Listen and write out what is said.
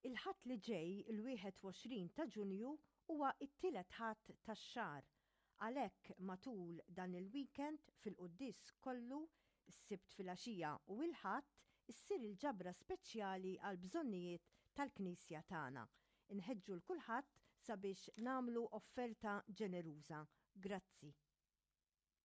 Il-Ħadd li ġej, il-21 ta' Ġunju, huwa t-tielet Ħadd tax-xahar. Għalhekk matul dan il-weekend fil-quddies kollu, s-Sibt filgħaxija u l-Ħadd, issir il-ġabra speċjali għall-bżonnijiet tal-Knisja tagħna. Inħeġġu 'l kulħadd sabiex nagħmlu offerta ġeneruża. Grazzi.